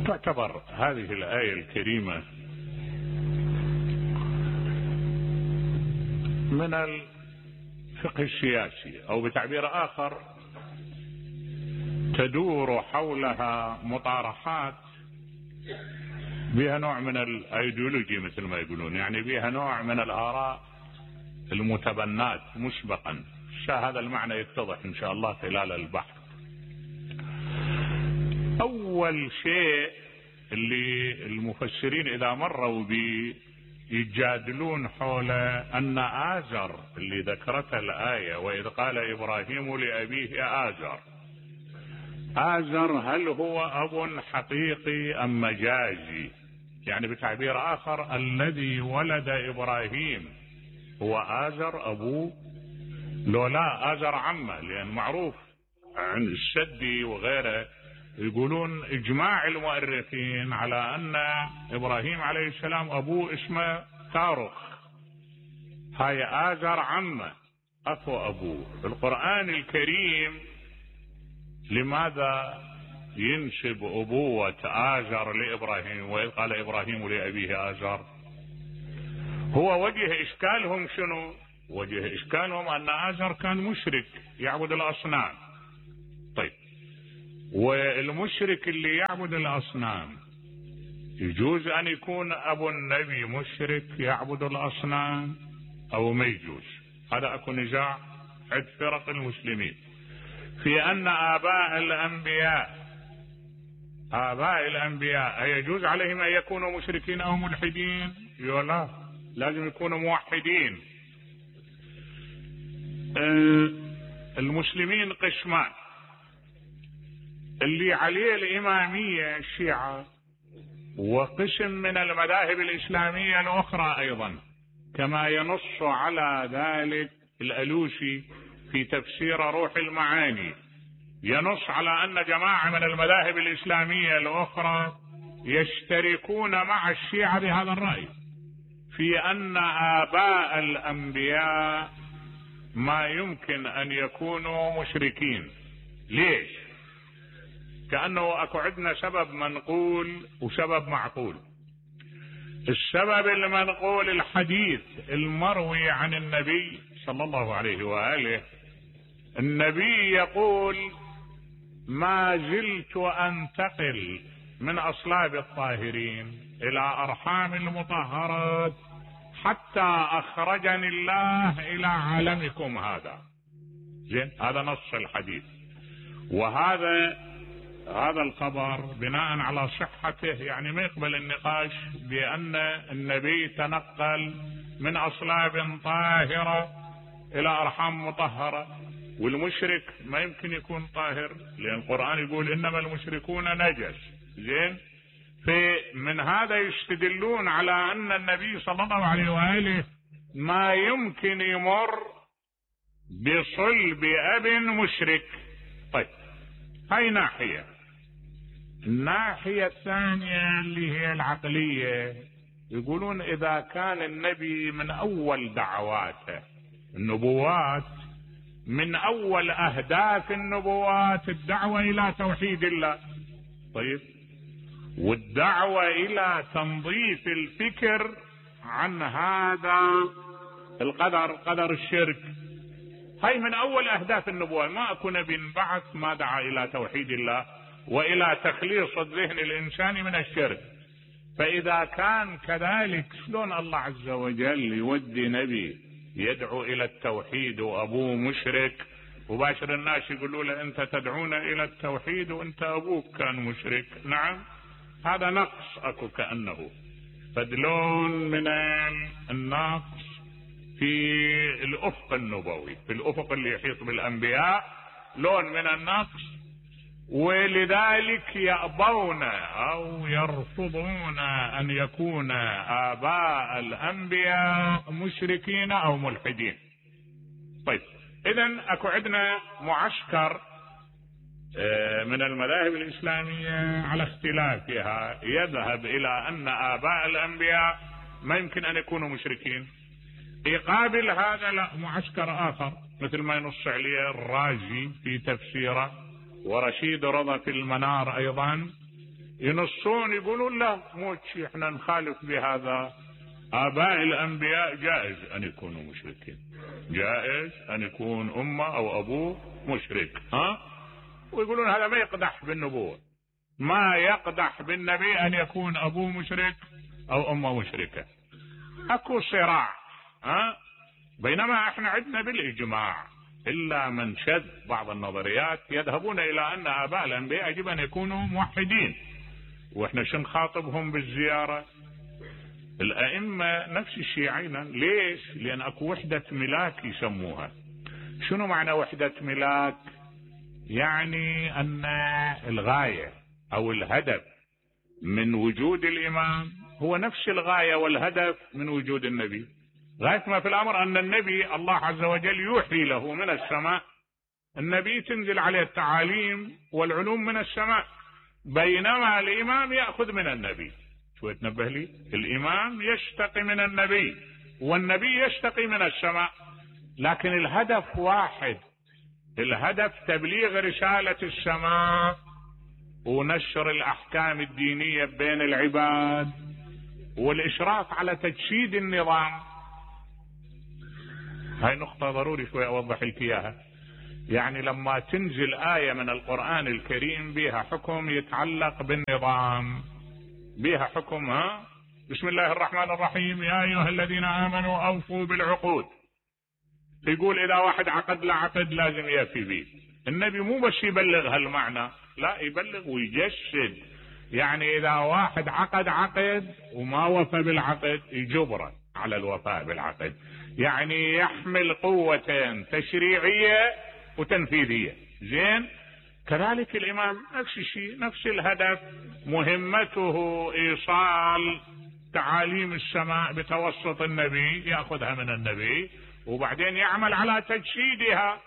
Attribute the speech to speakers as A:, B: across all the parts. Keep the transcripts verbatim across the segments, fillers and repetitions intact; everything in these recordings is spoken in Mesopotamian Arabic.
A: تعتبر هذه الآية الكريمة من الفقه السياسي، أو بتعبير آخر تدور حولها مطارحات بها نوع من الايديولوجي مثل ما يقولون، يعني بها نوع من الآراء المتبنات مسبقا. هذا المعنى يتضح إن شاء الله خلال البحث. أول شيء اللي المفسرين إذا مروا به يجادلون حول أن آزر اللي ذكرتها الآية، وإذ قال إبراهيم لأبيه آزر، آزر هل هو أب حقيقي أم مجازي؟ يعني بتعبير آخر الذي ولد إبراهيم هو آزر أبوه لو لا آزر عمه؟ لأن معروف عن السدي وغيره يقولون إجماع المؤرخين على أن إبراهيم عليه السلام أبوه اسمه تارخ، هاي آزر عمه أخو أبوه. القرآن الكريم لماذا ينسب أبوة آزر لإبراهيم وإذ قال إبراهيم لأبيه آزر؟ هو وجه إشكالهم شنو؟ وجه إشكالهم أن آزر كان مشرك يعبد الأصنام. طيب، والمشرك اللي يعبد الأصنام يجوز أن يكون أبو النبي مشرك يعبد الأصنام أو ما يجوز؟ هذا أكو نزاع عند فرق المسلمين في أن آباء الأنبياء آباء الأنبياء يجوز عليهم أن يكونوا مشركين أو ملحدين؟ لا، لازم يكونوا موحدين. المسلمين قسمان، اللي عليه الإمامية الشيعة، وقسم من المذاهب الإسلامية الأخرى أيضا، كما ينص على ذلك الألوسي في تفسير روح المعاني، ينص على أن جماعة من المذاهب الإسلامية الأخرى يشتركون مع الشيعة بهذا الرأي في أن آباء الأنبياء ما يمكن أن يكونوا مشركين. ليش؟ كأنه أكو عندنا سبب منقول وسبب معقول. السبب المنقول الحديث المروي عن النبي صلى الله عليه وآله، النبي يقول: ما زلت أنتقل من أصلاب الطاهرين إلى أرحام المطهرات حتى أخرجني الله إلى عالمكم هذا. زين، هذا نص الحديث. وهذا هذا الخبر بناء على صحته يعني ما يقبل النقاش بأن النبي تنقل من أصلاب طاهرة إلى أرحام مطهرة، والمشرك ما يمكن يكون طاهر لأن القرآن يقول إنما المشركون نجس. زين، فمن هذا يستدلون على أن النبي صلى الله عليه وآله ما يمكن يمر بصلب أب مشرك. طيب، هاي ناحية. الناحية الثانية اللي هي العقلية، يقولون إذا كان النبي من أول دعواته، النبوات من أول أهداف النبوات الدعوة إلى توحيد الله، طيب، والدعوة إلى تنظيف الفكر عن هذا القدر، قدر الشرك، هاي من أول أهداف النبوة. ما أكو نبي بعث ما دعا إلى توحيد الله وإلى تخليص الذهن الإنساني من الشرك. فإذا كان كذلك، شلون الله عز وجل يودي نبي يدعو إلى التوحيد وأبوه مشرك، وباشر الناس يقولوا له أنت تدعون إلى التوحيد وأنت أبوك كان مشرك؟ نعم، هذا نقص أكو كأنه فدلون من النقص في الأفق النبوي، في الأفق اللي يحيط بالأنبياء، لون من النقص. ولذلك يأبون أو يرفضون أن يكون آباء الأنبياء مشركين أو ملحدين. طيب، إذن أكو عندنا معسكر من المذاهب الإسلامية على اختلافها يذهب إلى أن آباء الأنبياء ما يمكن أن يكونوا مشركين. يقابل هذا لا، معسكر آخر مثل ما ينص عليه الرازي في تفسيره ورشيد رضا في المنار أيضا، ينصون يقولون لا مو شيء، احنا نخالف بهذا. آباء الأنبياء جائز أن يكونوا مشركين، جائز أن يكون أمه أو أبوه مشرك، ها؟ ويقولون هذا ما يقدح بالنبوة، ما يقدح بالنبي أن يكون أبوه مشرك أو أمه مشركة. أكو صراع، ها؟ بينما احنا عندنا بالإجماع إلا من شذ بعض النظريات يذهبون إلى أن آباء الأنبياء يجب أن يكونوا موحدين، واحنا شو نخاطبهم بالزيارة؟ الأئمة نفس الشيء عينا. ليش؟ لأن أكو وحدة ملاك يسموها. شنو معنى وحدة ملاك؟ يعني أن الغاية أو الهدف من وجود الإمام هو نفس الغاية والهدف من وجود النبي. غاية ما في الأمر أن النبي الله عز وجل يوحي له من السماء، النبي تنزل عليه التعاليم والعلوم من السماء، بينما الإمام يأخذ من النبي. شوي تنبه لي، الإمام يشتقي من النبي والنبي يشتقي من السماء، لكن الهدف واحد، الهدف تبليغ رسالة السماء ونشر الأحكام الدينية بين العباد والإشراف على تجسيد النظام. هاي نقطة ضروري شوي أوضح لك إياها. يعني لما تنزل آية من القرآن الكريم بها حكم يتعلق بالنظام، بها حكم، ها؟ بسم الله الرحمن الرحيم، يا أيها الذين آمنوا أوفوا بالعقود. يقول إذا واحد عقد لا عقد لازم يفي به. النبي مو بس يبلغ هالمعنى، لا يبلغ ويجسد. يعني إذا واحد عقد عقد وما وفى بالعقد يجبره على الوفاء بالعقد، يعني يحمل قوتين تشريعية وتنفيذية. زين؟ كذلك الإمام نفس الشيء، نفس الهدف، مهمته إيصال تعاليم السماء بتوسط النبي، يأخذها من النبي وبعدين يعمل على تجسيدها.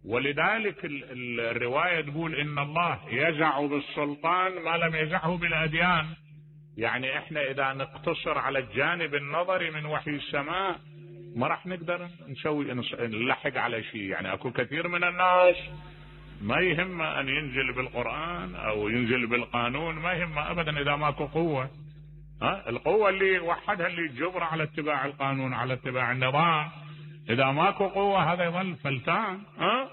A: ولذلك الرواية تقول إن الله يزع بالسلطان ما لم يزعه بالأديان. يعني احنا إذا نقتصر على الجانب النظري من وحي السماء ما راح نقدر نسوي نلحق على شيء. يعني أكو كثير من الناس ما يهم أن ينزل بالقرآن أو ينزل بالقانون، ما يهم أبدا إذا ماكو قوة. ها؟ القوة اللي وحدها اللي تجبر على اتباع القانون، على اتباع النظام. إذا ماكو قوة هذا يظل فلتان. ها؟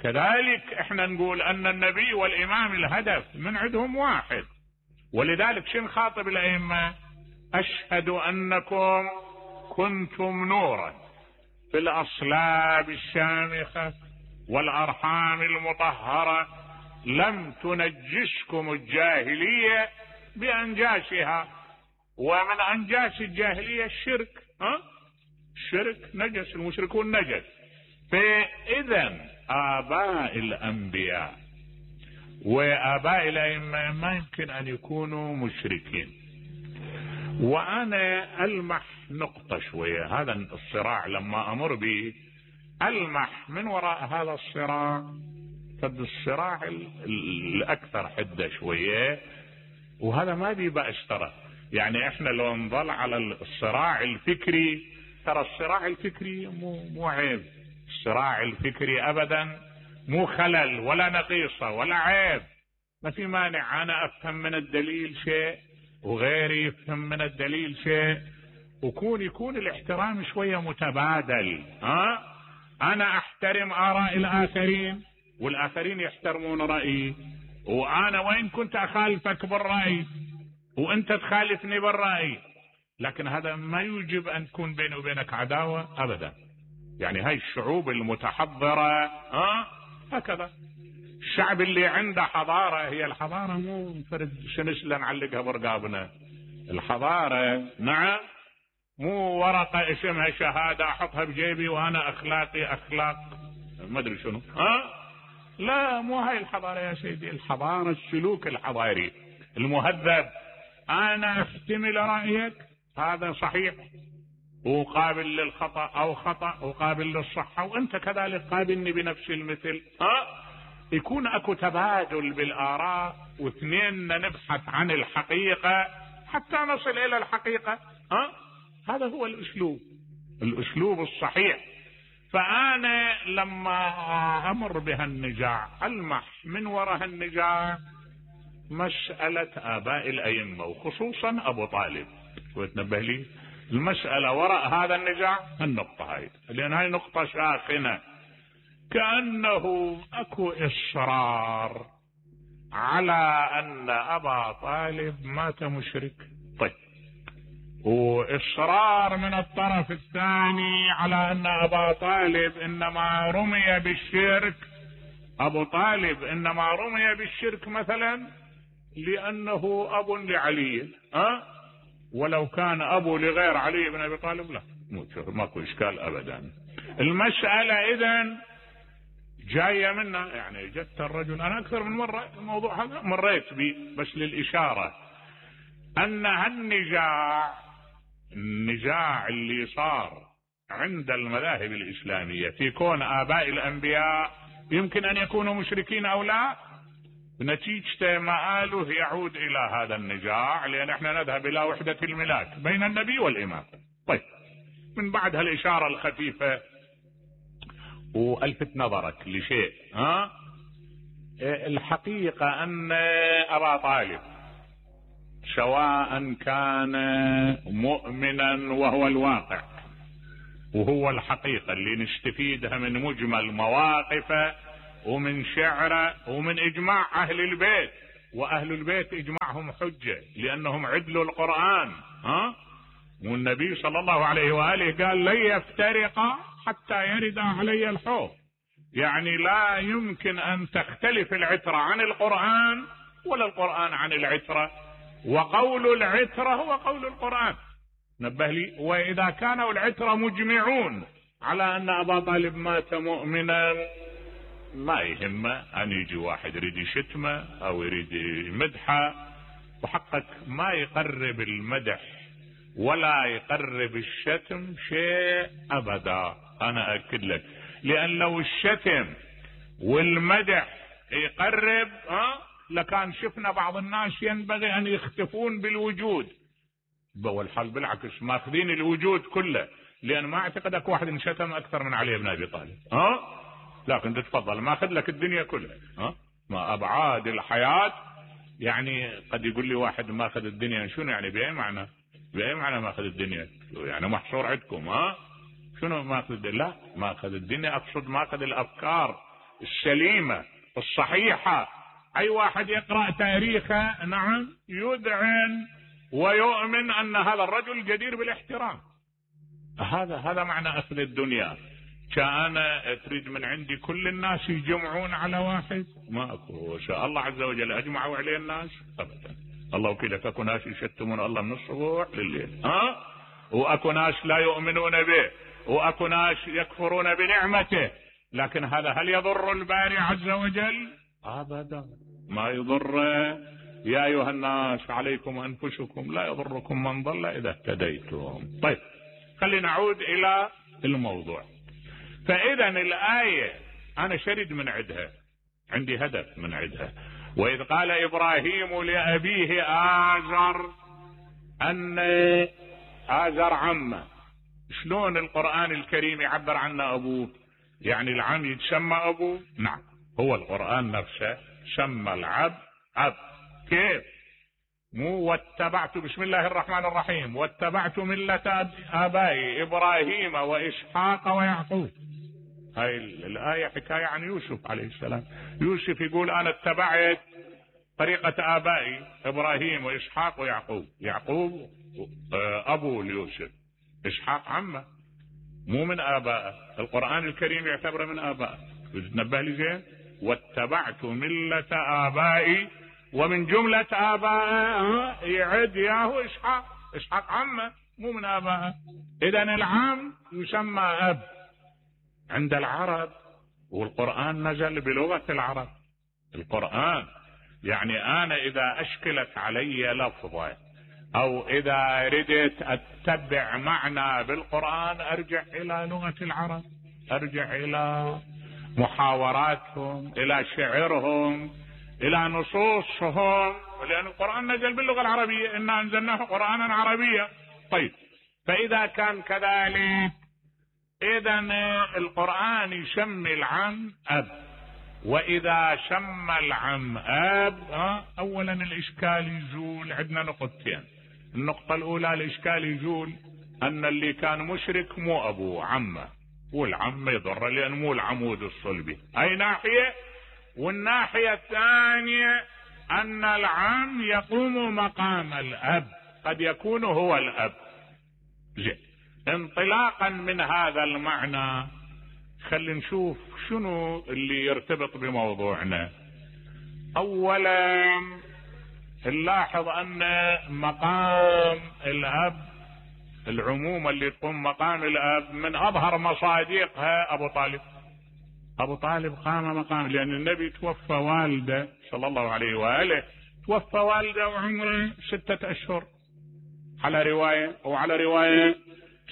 A: كذلك احنا نقول أن النبي والإمام الهدف من عندهم واحد. ولذلك شن خاطب الأئمة؟ أشهد أنكم كنتم نورا في الأصلاب الشامخة والأرحام المطهرة، لم تنجسكم الجاهلية بأنجاسها. ومن أنجاس الجاهلية الشرك. ها؟ الشرك نجس، المشركون نجس. فإذا آباء الأنبياء وآباء الأئمة ما يمكن أن يكونوا مشركين. وأنا ألمح نقطة شوية، هذا الصراع لما أمر به ألمح من وراء هذا الصراع قد الصراع الأكثر حدة شوية، وهذا ما بي بأس ترى. يعني احنا لو نظل على الصراع الفكري، ترى الصراع الفكري مو مو عيب، الصراع الفكري أبدا مو خلل ولا نقيصة ولا عيب. ما في مانع أنا أفهم من الدليل شيء وغيري يفهم من الدليل شيء، وكون يكون الاحترام شوية متبادل. ها؟ أنا أحترم آراء الآخرين والآخرين يحترمون رأيي، وأنا وإن كنت أخالفك بالرأي وأنت تخالفني بالرأي، لكن هذا ما يوجب أن تكون بيني وبينك عداوة أبدا. يعني هاي الشعوب المتحضرة ها هكذا. الشعب اللي عنده حضارة، هي الحضارة مو فرد سنسلة نعلقها برقابنا. الحضارة نعم مو ورقة اسمها شهادة احطها بجيبي وانا اخلاقي اخلاق ما ادري شنو. ها؟ لا، مو هاي الحضارة يا سيدي. الحضارة السلوك الحضاري المهذب. انا احتمل رأيك هذا صحيح وقابل للخطأ او خطأ وقابل للصحة، وانت كذلك قابلني بنفس المثل. ها؟ يكون اكو تبادل بالاراء، واثنين نبحث عن الحقيقة حتى نصل الى الحقيقة. ها؟ هذا هو الاسلوب، الاسلوب الصحيح. فانا لما امر بهالنزاع المح من وراء النزاع مسألة آباء الأئمة وخصوصا أبو طالب. وتنبه لي المسألة وراء هذا النزاع النقطة هاي، لأن هاي نقطة ساخنة، كأنه أكو إصرار على أن أبا طالب مات مشرك. طيب، وإصرار من الطرف الثاني على أن أبا طالب إنما رمي بالشرك، أبو طالب إنما رمي بالشرك مثلا لأنه أب لعلي، أه؟ ولو كان أبو لغير علي بن أبي طالب لا ماكو إشكال أبدا. المسألة إذن جاية منا، يعني جدت الرجل، أنا أكثر من مرة الموضوع هذا مريت بي بس للإشارة أن هالنزاع النزاع اللي صار عند المذاهب الإسلامية في كون آباء الأنبياء يمكن أن يكونوا مشركين أو لا، نتيجة مآله يعود إلى هذا النزاع، لأن احنا نذهب إلى وحدة الملاك بين النبي والإمام. طيب، من بعد هالإشارة الخفيفة والفت نظرك لشيء، ها الحقيقة أن أبا طالب سواء كان مؤمنا وهو الواقع وهو الحقيقة اللي نستفيدها من مجمل مواقفه ومن شعره ومن إجماع أهل البيت، وأهل البيت إجماعهم حجة لأنهم عدلوا القرآن، ها والنبي صلى الله عليه وآله قال لن يفترقا حتى يرد علي الحوض، يعني لا يمكن أن تختلف العترة عن القرآن ولا القرآن عن العترة، وقول العترة هو قول القرآن. نبه لي، وإذا كانوا العترة مجمعون على أن أبا طالب مات مؤمنا ما يهمه أن يجي واحد يريد يشتمه أو يريد يمدحه، وحقك ما يقرب المدح ولا يقرب الشتم شيء أبدا، أنا أكد لك، لأن لو الشتم والمدح يقرب ها لكان شفنا بعض الناس ينبغي أن يختفون بالوجود، والحال بالعكس ماخذين الوجود كله، لأن ما أعتقدك واحد انشتم أكثر من علي بن أبي طالب، ها لكن تتفضل ماخذ لك الدنيا كلها، ها ما أبعاد الحياة. يعني قد يقول لي واحد ماخذ الدنيا، شنو يعني بأي معنى؟ بأي معنى ماخذ الدنيا؟ يعني محصور عندكم، ها شنو ماخذ الدنيا؟ لا، ماخذ الدنيا أقصد ماخذ الأفكار السليمة الصحيحة. أي واحد يقرأ تاريخه نعم يذعن ويؤمن أن هذا الرجل جدير بالاحترام. هذا هذا معنى أخذ الدنيا. كان تريد من عندي كل الناس يجمعون على واحد؟ ما أكو، شاء الله عز وجل أجمعوا عليه الناس أبدا. الله وكيلك أكو ناس يشتمون الله من الصبح لليل، ها وأكو ناس لا يؤمنون به، وأكو ناس يكفرون بنعمته، لكن هذا هل يضر الباري عز وجل؟ أبدا ما يضر. يا أيها الناس عليكم أنفسكم لا يضركم من ضل إذا اهتديتم. طيب، خلينا نعود إلى الموضوع. فإذا الآية أنا شرد من عدها، عندي هدف من عدها. وإذ قال إبراهيم لأبيه آزر، أن آزر عمه، شلون القرآن الكريم يعبر عنه أبوه؟ يعني العم يتسمى أبوه؟ نعم، هو القرآن نفسه سمى العبد أب. كيف؟ مو واتبعت، بسم الله الرحمن الرحيم، واتبعت ملة آبائي إبراهيم وإسحاق ويعقوب. هاي الآية حكاية عن يوسف عليه السلام. يوسف يقول أنا اتبعت طريقة آبائي إبراهيم وإسحاق ويعقوب. يعقوب أبو ليوسف، إسحاق عمه، مو من آبائه. القرآن الكريم يعتبره من آبائه. تنبه لي زين، واتبعت ملة آبائي، ومن جملة آبائه يعد ياهو إسحاق. إسحاق عمه مو من آبائه. إذن العم يسمى أب عند العرب، والقرآن نزل بلغة العرب. القرآن يعني أنا إذا أشكلت علي لفظة أو إذا ردت أتبع معنى بالقرآن أرجع إلى لغة العرب، أرجع إلى محاوراتهم، إلى شعرهم، إلى نصوصهم، لأن القرآن نزل باللغة العربية، إنا أنزلناه قرآنا عربيا. طيب، فإذا كان كذلك إذن القرآن يسمي العم أب، واذا شم العم اب ها اولا الاشكال يزول. عندنا نقطتين. النقطة الاولى الاشكال يزول ان اللي كان مشرك مو ابوه عمه، والعم يضر لان مو العمود الصلبي. اي ناحية. والناحية الثانية ان العم يقوم مقام الاب، قد يكون هو الاب. زين، انطلاقا من هذا المعنى خلينا نشوف شنو اللي يرتبط بموضوعنا. اولا نلاحظ ان مقام الاب، العمومة اللي تقوم مقام الاب من اظهر مصادقها ابو طالب. ابو طالب قام مقام، لان النبي توفى والده صلى الله عليه واله، توفى والده وعمره ستة اشهر على رواية، وعلى رواية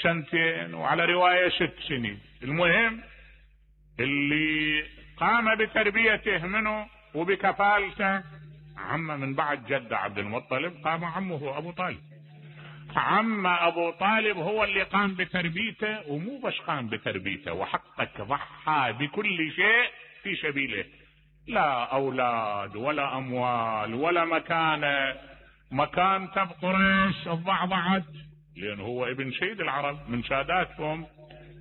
A: سنتين، وعلى رواية ست سنين. المهم اللي قام بتربيته منه وبكفالته عمه من بعد جد عبد المطلب، قام عمه ابو طالب. عم ابو طالب هو اللي قام بتربيته، ومو بس قام بتربيته، وحقك ضحى بكل شيء في سبيله. لا اولاد ولا اموال ولا مكانه. مكانته بقريش ضعضعت، لان هو ابن سيد العرب من ساداتهم،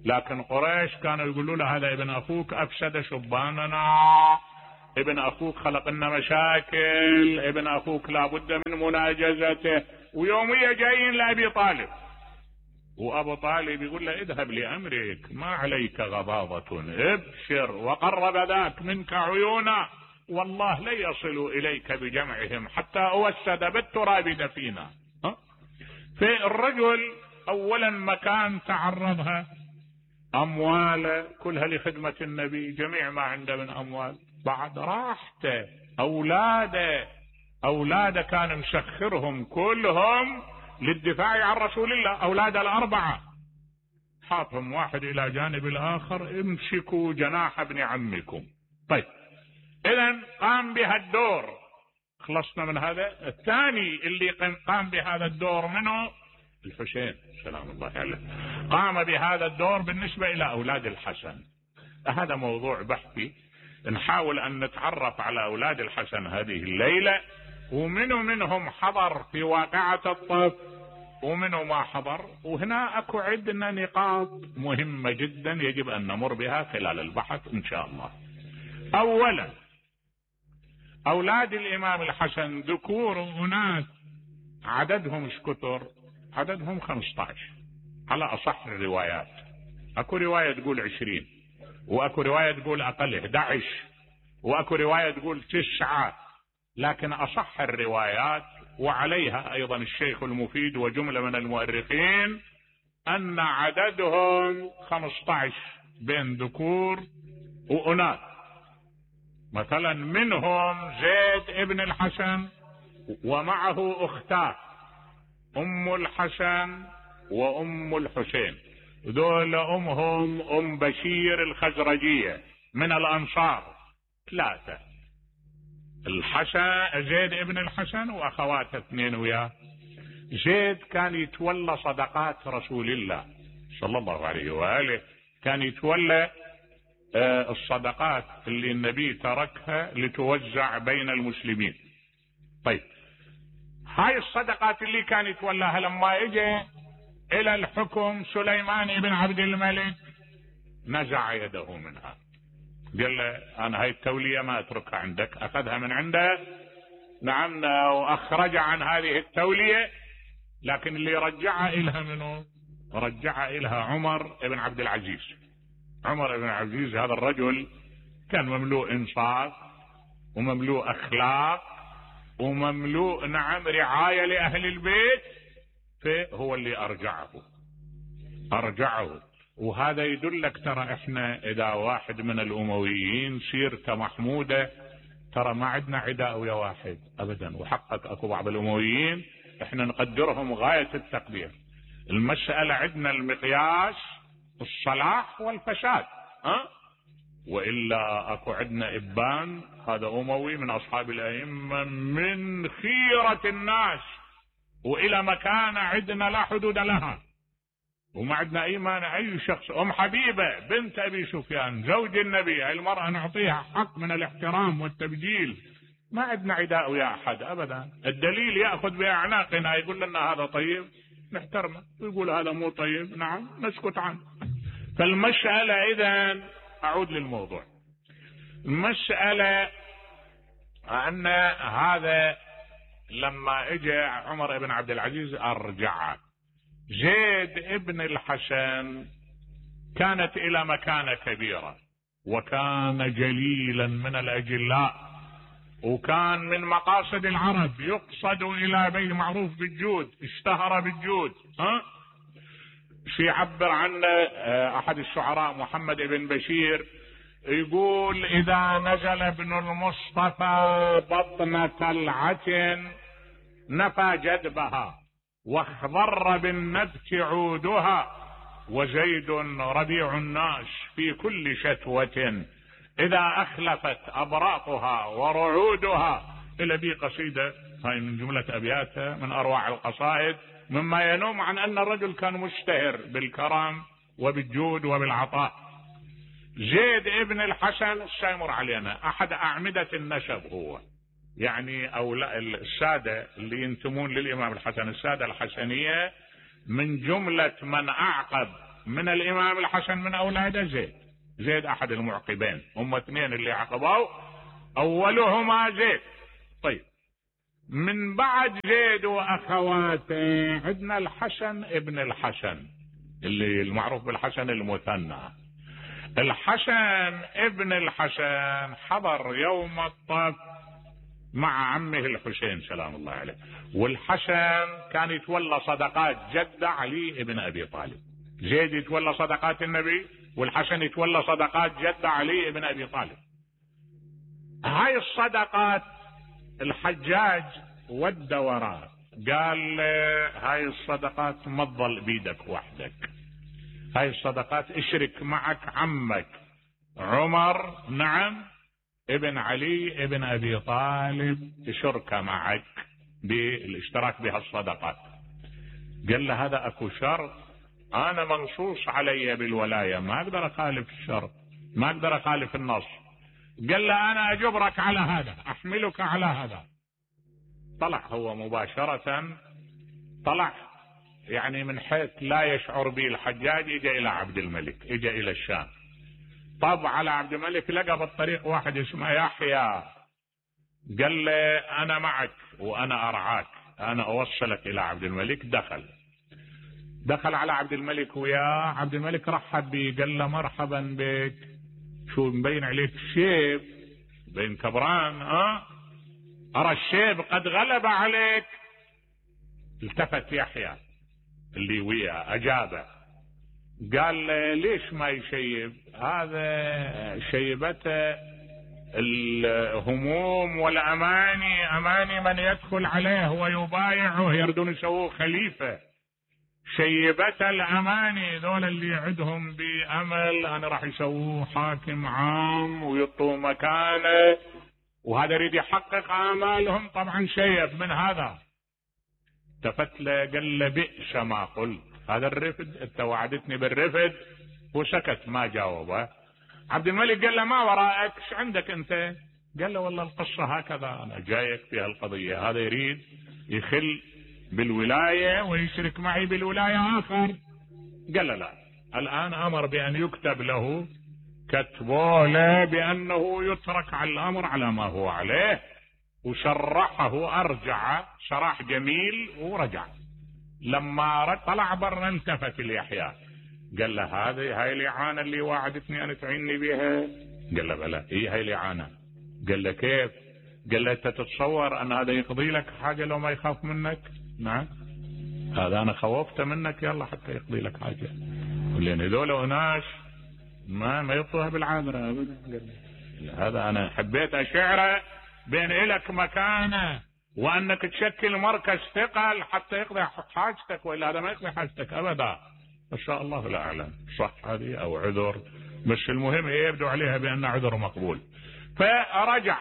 A: لكن قريش كانوا يقولوا له هذا ابن اخوك افسد شباننا، ابن اخوك خلق لنا مشاكل، ابن اخوك لابد من مناجزته. ويومية جايين لابي طالب، وابو طالب يقول له اذهب لامرك ما عليك غضاضة، ابشر وقرب ذاك منك عيونا، والله لا يصل اليك بجمعهم حتى اوسد بالتراب دفينا. في الرجل اولا مكان تعرضها، امواله كلها لخدمة النبي، جميع ما عنده من اموال، بعد راحته، اولاده اولاده كان مسخرهم كلهم للدفاع عن رسول الله، اولاد الاربعة حاطهم واحد الى جانب الاخر، امسكوا جناح ابن عمكم. طيب اذا قام بهالدور، خلصنا من هذا. الثاني اللي قام بهذا الدور منه الحسين سلام الله عليه، قام بهذا الدور بالنسبة الى اولاد الحسن. هذا موضوع بحثي، نحاول ان نتعرف على اولاد الحسن هذه الليلة، ومنو منهم حضر في واقعة الطف ومنو ما حضر. وهنا اكو عندنا نقاط مهمة جدا يجب ان نمر بها خلال البحث ان شاء الله. اولا اولاد الامام الحسن ذكور واناث، عددهم ايش كثر؟ عددهم خمسة عشر على اصح الروايات. اكو رواية تقول عشرين، واكو رواية تقول اقل احد عشر، واكو رواية تقول تسعة، لكن اصح الروايات وعليها ايضا الشيخ المفيد وجملة من المؤرخين ان عددهم خمسة عشر بين ذكور واناث. مثلا منهم زيد ابن الحسن ومعه اختاه ام الحسن وام الحسين، ذول امهم ام بشير الخزرجية من الانصار ثلاثة، الحسن زيد ابن الحسن واخواته اثنين وياه. زيد كان يتولى صدقات رسول الله صلى الله عليه واله، كان يتولى آه الصدقات اللي النبي تركها لتوزع بين المسلمين. طيب هاي الصدقات اللي كان يتولاها لما اجى الى الحكم سليمان بن عبد الملك نزع يده منها، قال له انا هاي التولية ما اتركها عندك، اخذها من عنده. نعم، واخرج عن هذه التولية، لكن اللي رجعها الها منه؟ رجعها الها عمر بن عبد العزيز. عمر بن عبد العزيز هذا الرجل كان مملوء انصاف ومملوء اخلاق ومملوء نعم رعاية لاهل البيت، فهو اللي ارجعه ارجعه وهذا يدلك ترى احنا اذا واحد من الامويين سيرته محمودة ترى ما عندنا عداء ويا واحد ابدا، وحقق اكو بعض الامويين احنا نقدرهم غاية التقدير. المسألة عندنا المقياس الصلاح والفساد، ها؟ والا اكو عندنا ابان هذا اموي من اصحاب الائمة من خيرة الناس، والى مكانة عندنا لا حدود لها، وما عندنا اي مانع اي شخص. ام حبيبة بنت ابي سفيان زوج النبي، هاي المرأة نعطيها حق من الاحترام والتبجيل، ما عندنا عداء ويا احد ابدا. الدليل ياخذ باعناقنا يقول لنا هذا طيب نحترمه، ويقول هذا مو طيب نعم نسكت عنه. فالمسألة اذا اعود للموضوع، المسألة ان هذا لما اجى عمر بن عبد العزيز ارجع زيد ابن الحسن كانت الى مكانة كبيرة، وكان جليلا من الاجلاء، وكان من مقاصد العرب، يقصد الى بيت معروف بالجود، اشتهر بالجود. ها في عبر عنه احد الشعراء محمد بن بشير يقول اذا نزل ابن المصطفى بطن طلعة نفى جدبها واخضر بالنبت عودها، وزيد ربيع الناس في كل شتوة اذا اخلفت ابراقها ورعودها. الى بي قصيدة هاي من جملة ابياتها من اروع القصائد، مما ينم عن ان الرجل كان مشتهر بالكرم وبالجود وبالعطاء. زيد ابن الحسن السيمر علينا احد اعمدة النسب، هو يعني او السادة اللي ينتمون للامام الحسن، السادة الحسنية من جملة من اعقب من الامام الحسن من اولاده زيد. زيد احد المعقبين، هم اثنين اللي عقبوا، اولهما زيد. طيب من بعد زيد واخواته عندنا الحسن ابن الحسن اللي المعروف بالحسن المثنى. الحسن ابن الحسن حضر يوم الطف مع عمه الحسين سلام الله عليه، والحسن كان يتولى صدقات جد علي ابن ابي طالب. زيد يتولى صدقات النبي، والحسن يتولى صدقات جد علي ابن ابي طالب. هاي الصدقات الحجاج ود وراه قال هاي الصدقات ما تظل بيدك وحدك، هاي الصدقات اشرك معك عمك عمر نعم ابن علي ابن ابي طالب شركة معك بالاشتراك بهالصدقات. قال له هذا اكو شرط، انا منصوص علي بالولاية ما اقدر اخالف الشرط، ما اقدر اخالف النص. قال له انا اجبرك على هذا، احملك على هذا. طلع هو مباشرة، طلع يعني من حيث لا يشعر به الحجاج، اجى الى عبد الملك، اجى الى الشام. طب على عبد الملك لقى بالطريق واحد اسمه يحيى، قال له انا معك وانا ارعاك، انا اوصلك الى عبد الملك. دخل دخل على عبد الملك وياه، عبد الملك رحب به قال له مرحبا بك، شو مبين عليك الشيب، بين كبران، ها ارى الشيب قد غلب عليك. التفت يحيى اللي وياه اجابه قال ليش ما يشيب؟ هذا شيبته الهموم والاماني، اماني من يدخل عليه ويبايعه يردون يسووه خليفه. شيبته الاماني ذول اللي يعدهم بامل انا راح يسووه حاكم عام ويطوا مكانه، وهذا يريد يحقق امالهم. طبعا شيب من هذا. التفت له قال له بئس ما قلت، هذا الرفد انت وعدتني بالرفد، وسكت ما جاوبه. عبد الملك قال له ما وراءك، ايش عندك انت؟ قال له والله القصه هكذا، انا جايك في هالقضيه، هذا يريد يخل بالولايه ويشرك معي بالولايه اخر. قال له لا، الان امر بان يكتب له، كتبوا له بانه يترك على الامر على ما هو عليه، وشرحه ارجع شرح جميل ورجع. لما طلع برا التفت ليحيى قال له هذه هاي الاعانه اللي وعدتني ان تعيني بها؟ قال له بلى. اي هاي الاعانه. قال له كيف؟ قال له انت تتصور ان هذا يقضي لك حاجه لو ما يخاف منك؟ نعم هذا انا خوفته منك يلا حتى يقضي لك حاجه، لان هذول اناس ما ما يطوها بالعابره ابدا. قال له هذا انا حبيت اشعره بين الك مكانه وانك تشكل مركز ثقل حتى يقضي حاجتك، والا هذا ما يقضي حاجتك ابدا. ان شاء الله لا اعلم صح هذه او عذر، بس المهم هي يبدو عليها بان عذر مقبول. فرجع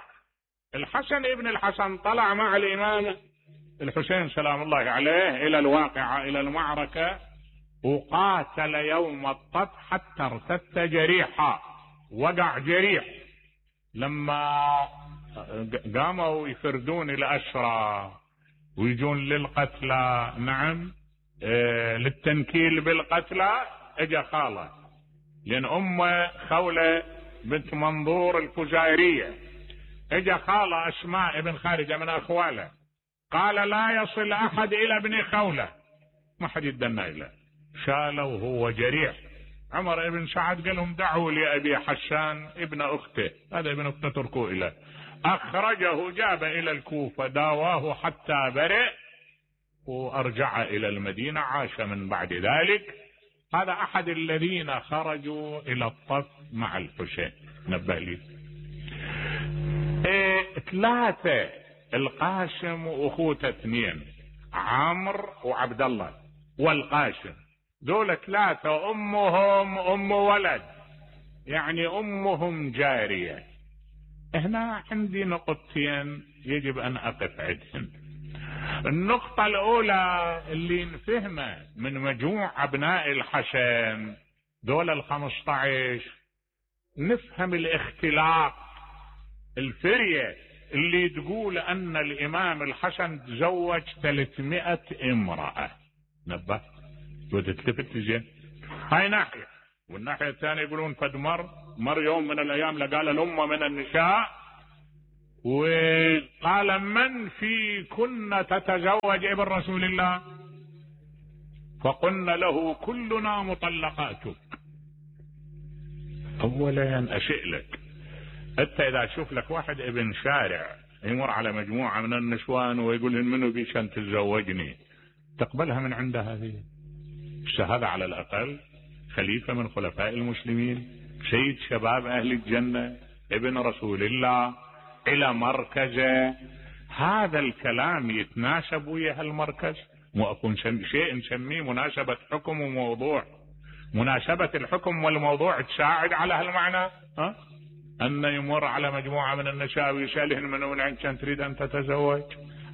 A: الحسن ابن الحسن، طلع مع الامام الحسين سلام الله عليه الى الواقعة، الى المعركة، وقاتل يوم الطف حتى ارتد جريحا، وقع جريح. لما قاموا يفردون الأسرى ويجون للقتلى، نعم، آه للتنكيل بالقتلى، اجا خاله، لان ام خولة بنت منظور الفزارية، اجا خاله اسماء ابن خارجة من اخواله، قال لا يصل احد الى ابن خولة، ما حد يدنا له، شاله وهو جريح. عمر ابن سعد قال لهم دعوا لأبي حسان ابن أخته، هذا ابن أخته تركوه إليه، أخرجه جاب إلى الكوفة داواه حتى برئ وأرجع إلى المدينة، عاش من بعد ذلك. هذا أحد الذين خرجوا إلى الطف مع الحسين، نبه لي. إيه ثلاثة، القاسم وأخوته اثنين، عمرو وعبد الله والقاسم، دول ثلاثة امهم ام ولد، يعني امهم جارية. هنا عندي نقطتين يجب ان اقف عندهن. النقطة الاولى اللي نفهمه من مجموع ابناء الحسن دول الخمسة عشر، نفهم الاختلاق، الفرية اللي تقول ان الامام الحسن تزوج ثلاثمائة امرأة. نبه وتتلفت زين، هاي ناحية. والناحية الثانية يقولون فد مر مر يوم من الايام لقال الامة من النساء وقال من في كنا تتزوج ابن رسول الله، فقلنا له كلنا مطلقاتك. اولا اشئ لك انت اذا تشوف لك واحد ابن شارع يمر على مجموعة من النسوان ويقول منو بيش ان تتزوجني، تقبلها من عنده؟ هذه هذا على الأقل خليفة من خلفاء المسلمين، سيد شباب أهل الجنة، ابن رسول الله، إلى مركزه. هذا الكلام يتناسب ويا هالمركز؟ مو أكون شيء نسميه مناسبة حكم وموضوع، مناسبة الحكم والموضوع تساعد على هالمعنى؟ ها؟ أن يمر على مجموعة من النساء ويسألهن من وين عندك تريد أن تتزوج،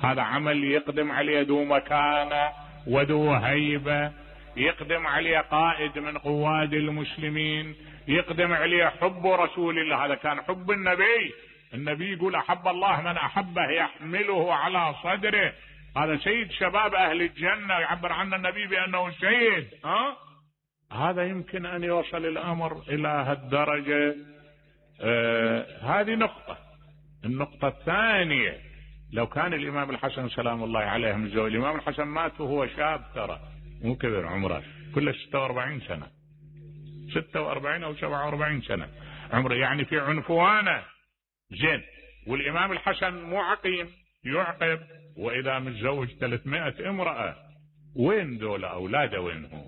A: هذا عمل يقدم عليه ذو مكانة وذو هيبة، يقدم عليه قائد من قواد المسلمين، يقدم عليه حب رسول الله. هذا كان حب النبي، النبي يقول احب الله من احبه يحمله على صدره، هذا سيد شباب اهل الجنة، يعبر عنه النبي بانه سيد. ها هذا يمكن ان يوصل الامر الى هالدرجة. آه هذه نقطة. النقطة الثانية، لو كان الامام الحسن سلام الله عليه متزوج، الامام الحسن مات وهو شاب، ترى مو كبير عمره، كله ستة واربعين سنة، ستة واربعين او سبعة واربعين سنة عمره، يعني في عنفوانه زين. والامام الحسن مو عقيم، يعقب، واذا متزوج ثلاثمائة امرأة، وين دول اولاده؟ وينهم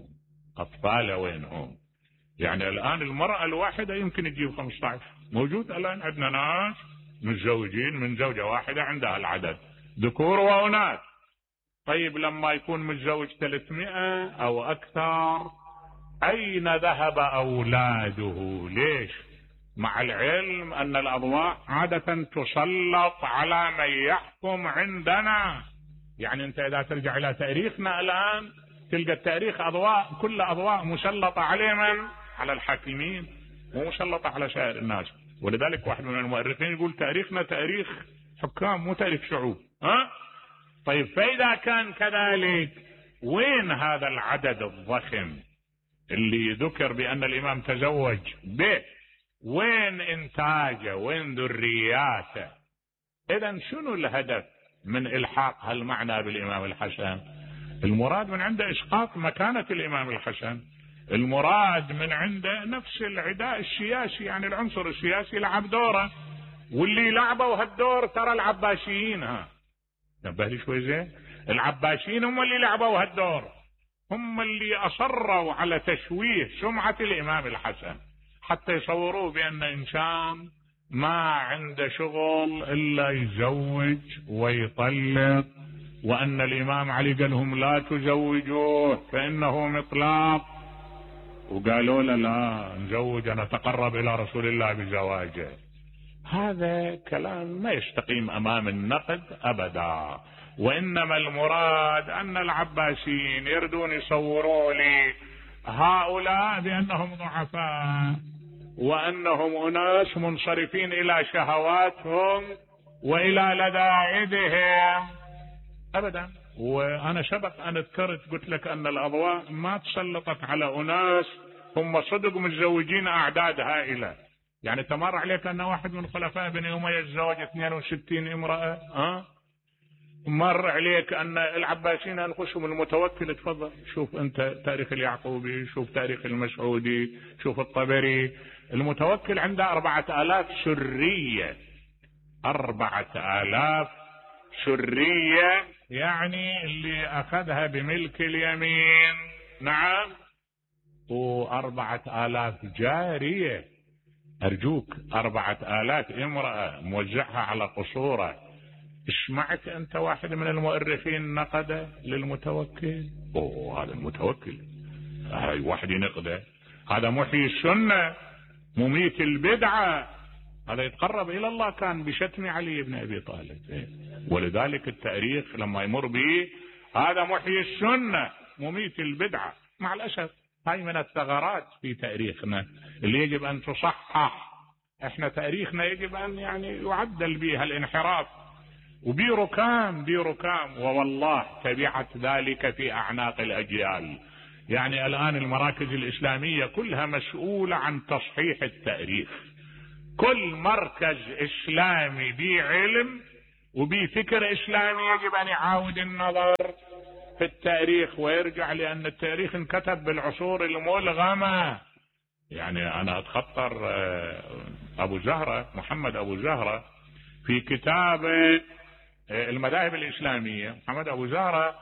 A: اطفاله؟ وينهم؟ يعني الان المرأة الواحدة يمكن تجيب خمسة عشر، موجود الان عندنا ناس متزوجين من زوجة واحدة عندها العدد، ذكور واناث. طيب لما يكون متزوج ثلاثمائة او اكثر، اين ذهب اولاده؟ ليش؟ مع العلم ان الاضواء عادة تسلط على من يحكم عندنا. يعني انت اذا ترجع الى تاريخنا الان تلقى التاريخ اضواء، كل اضواء مسلطة عليه من؟ على الحاكمين، مو مسلطة على سائر الناس. ولذلك واحد من المؤرخين يقول تاريخنا تاريخ حكام مو تاريخ شعوب. ها؟ طيب فإذا كان كذلك، وين هذا العدد الضخم اللي ذكر بأن الإمام تزوج به؟ وين إنتاجه؟ وين ذرياته؟ إذن شنو الهدف من إلحاق هالمعنى بالإمام الحسن؟ المراد من عنده إسقاط مكانة الإمام الحسن، المراد من عنده نفس العداء السياسي، يعني العنصر السياسي لعب دوره، واللي لعبوا هالدور ترى العباسيين. ها نبه لي شوي زين، العباسيين هم اللي لعبوا هالدور، هم اللي اصروا على تشويه سمعة الامام الحسن حتى يصوروه بان انسان ما عنده شغل الا يزوج ويطلق، وان الامام علي قال لهم لا تزوجوه فانه مطلاق، وقالوا له لا نزوج نتقرب الى رسول الله بزواجه. هذا كلام ما يستقيم امام النقد ابدا. وانما المراد ان العباسيين يردون يصوروا لي هؤلاء بأنهم ضعفاء وأنهم أناس منصرفين إلى شهواتهم وإلى لذائذهم أبدا. وأنا سبق أن ذكرت قلت لك أن الأضواء ما تسلطت على أناس هم صدق متزوجين أعداد هائلة. يعني تمر عليك أن واحد من خلفاء بني أمية تزوج اثنين وستين امرأة. أه؟ مر عليك أن العباسيين أنفسهم المتوكل. تفضل شوف أنت تاريخ اليعقوبي، شوف تاريخ المسعودي، شوف الطبري. المتوكل عنده أربعة آلاف سرية، أربعة آلاف سرية، يعني اللي أخذها بملك اليمين. نعم. وأربعة آلاف جارية. أرجوك أربعة آلاف امرأة موزعها على قصوره. اسمعت أنت واحد من المؤرخين نقد للمتوكل؟ أوه هذا المتوكل هاي واحد ينقده، هذا محيي السنة مميت البدعة، هذا يتقرب إلى الله كان بشتم علي بن أبي طالب. ولذلك التاريخ لما يمر به هذا محيي السنة مميت البدعة. مع الأسف هاي من الثغرات في تاريخنا اللي يجب أن تصحح. احنا تاريخنا يجب أن يعني يعدل بها الانحراف، وبي ركام بي ركام ووالله تبعت ذلك في أعناق الأجيال. يعني الآن المراكز الإسلامية كلها مسؤولة عن تصحيح التاريخ. كل مركز إسلامي بعلم وبفكر إسلامي يجب أن يعاود النظر في التاريخ ويرجع، لأن التاريخ انكتب بالعصور الملغمة. يعني أنا أتخطر أبو زهرة، محمد أبو زهرة في كتاب المذاهب الإسلامية، محمد أبو زهرة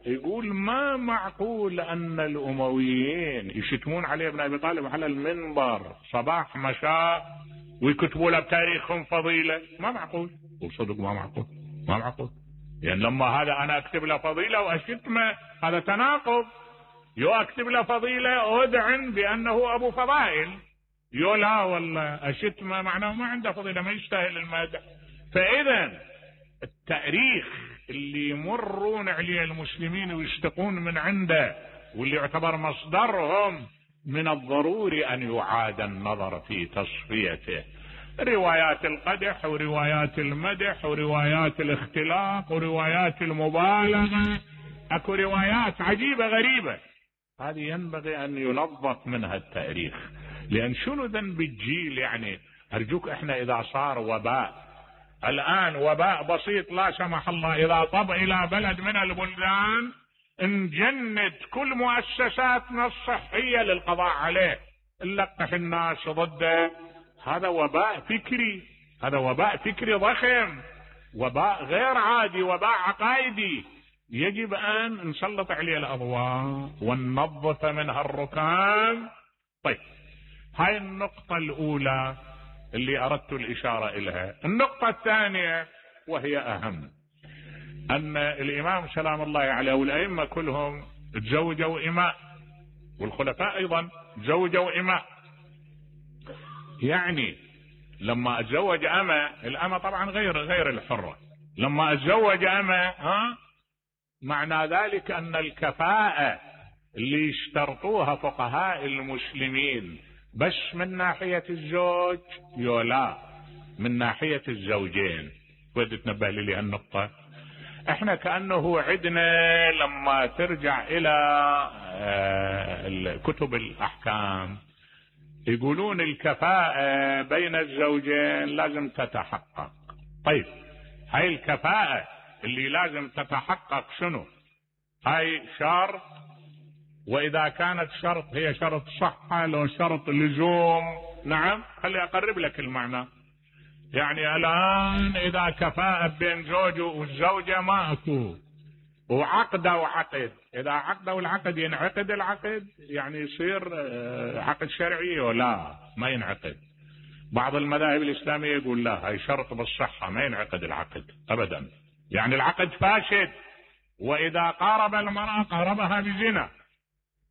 A: يقول ما معقول أن الأمويين يشتمون علي بن أبي طالب على المنبر صباح مساء ويكتبوا له بتاريخهم فضيلة. ما معقول، وصدق ما معقول، ما معقول. يعني لما هذا أنا أكتب له فضيلة وأشتمه هذا تناقض. يو أكتب له فضيلة أدعن بأنه أبو فضائل، يو لا والله أشتمه معناه ما عنده فضيلة، ما يستاهل المدح. فإذا التاريخ اللي يمرون عليه المسلمين ويشتقون من عنده واللي يعتبر مصدرهم من الضروري أن يعاد النظر في تصفيته. روايات القدح وروايات المدح وروايات الاختلاق وروايات المبالغة، اكو روايات عجيبة غريبة، هذه ينبغي أن ينظف منها التاريخ. لأن شنو ذنب الجيل؟ يعني أرجوك احنا إذا صار وباء الآن، وباء بسيط لا سمح الله، إذا طب إلى بلد من البلدان نجند كل مؤسساتنا الصحية للقضاء عليه، نلقح الناس ضده. هذا وباء فكري، هذا وباء فكري ضخم، وباء غير عادي، وباء عقائدي، يجب أن نسلط عليه الأضواء وننظف منها الركام. طيب هاي النقطة الأولى اللي أردت الإشارة إليها. النقطة الثانية وهي أهم، أن الإمام سلام الله عليه والأئمة كلهم تزوجوا إماء، والخلفاء أيضا تزوجوا إماء. يعني لما أتزوج أمة، الأمة طبعا غير غير الحرة، لما أتزوج أمة ها معنى ذلك أن الكفاءة اللي اشترطوها فقهاء المسلمين بس من ناحية الزوج يولا من ناحية الزوجين. ودي تنبه لي هالنقطة. احنا كأنه عدنا لما ترجع الى كتب الأحكام يقولون الكفاءة بين الزوجين لازم تتحقق. طيب هاي الكفاءة اللي لازم تتحقق شنو؟ هاي شرط، وإذا كانت شرط هي شرط صحة لو شرط لزوم. نعم خلي أقرب لك المعنى. يعني الآن إذا كفاءة بين زوجه والزوجة ما أكو، وعقده وعقد، إذا عقده والعقد ينعقد العقد، يعني يصير عقد شرعي ولا ما ينعقد. بعض المذاهب الإسلامية يقول لا هاي شرط بالصحة ما ينعقد العقد أبدا، يعني العقد فاسد. وإذا قارب المرأة قاربها بزنا.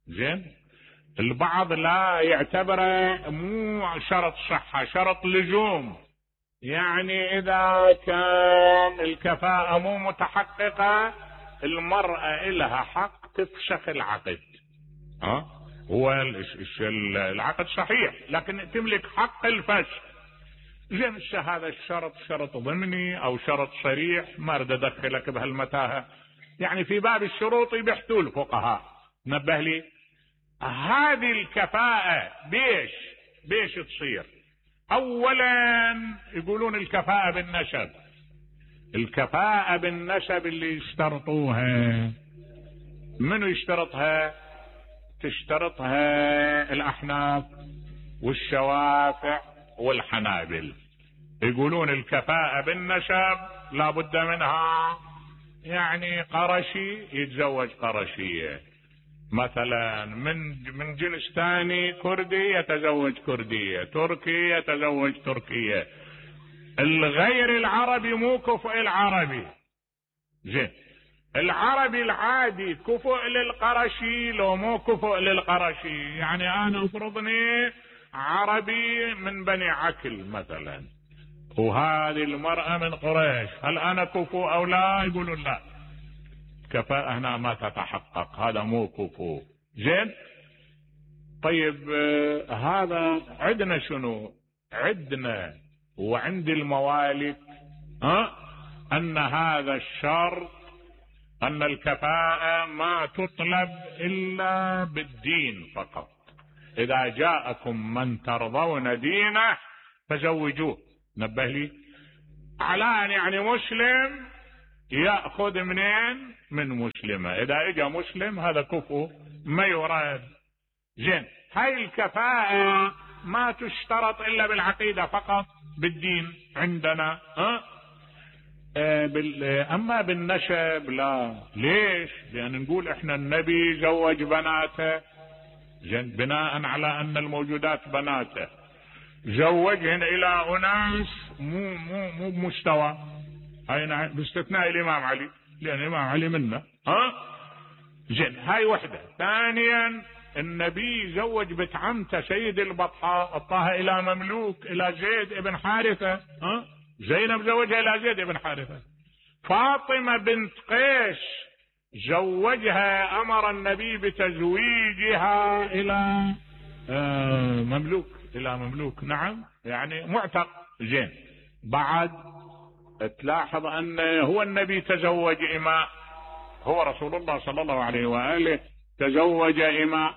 A: زين، البعض لا يعتبره مو شرط صحة، شرط لزوم. يعني إذا كان الكفاءة مو متحققة المرأة إلها حق تفسخ العقد. ها هو العقد صحيح لكن تملك حق الفسخ. زين هذا الشرط شرط ضمني او شرط صريح، ما اريد ادخلك بهالمتاهه، يعني في باب الشروط بيحتوا الفقهاء. نبه لي هذه الكفاءة بيش بيش تصير؟ اولا يقولون الكفاءة بالنسب. الكفاءة بالنسب اللي يشترطوها منو يشترطها؟ تشترطها الاحناف والشوافع والحنابل. يقولون الكفاءة بالنسب لا بد منها، يعني قرشي يتزوج قرشية، مثلا من من جنس ثاني كردي يتزوج كردية، تركي يتزوج تركية، الغير العربي مو كفء العربي. زين العربي العادي كفء للقرشي لو مو كفء للقرشي، يعني انا افرضني عربي من بني عكل مثلا وهذه المرأة من قريش، هل انا كفء او لا؟ يقولون لا، كفاءة هنا ما تتحقق، هذا مو كفء. زين طيب آه هذا عندنا شنو؟ عندنا وعند الموالك ها ان هذا الشرط ان الكفاءة ما تطلب الا بالدين فقط. اذا جاءكم من ترضون دينه فزوجوه. نبه لي علان يعني مسلم يأخذ منين؟ من مسلمة. اذا اجى مسلم هذا كفو ما يراد. زين هاي الكفاءة ما تشترط الا بالعقيدة فقط، بالدين عندنا ها أه بال... اما بالنسب لا. ليش؟ لان نقول احنا النبي زوج بناته، زين بناء على ان الموجودات بناته، زوجهن الى اناس مو مو مو بمستوى، هاي باستثناء الامام علي لان الامام علي منا ها. زين هاي وحده. ثانيا النبي زوج بنت عمته سيد البطحاء، اعطاها الى مملوك الى زيد ابن حارثه ها. زينب زوجها الى زيد ابن حارثه. فاطمه بنت قيس زوجها، امر النبي بتزويجها الى آه مملوك، الى مملوك نعم يعني معتق. زين بعد تلاحظ ان هو النبي تزوج اماء، هو رسول الله صلى الله عليه واله تزوج اماء.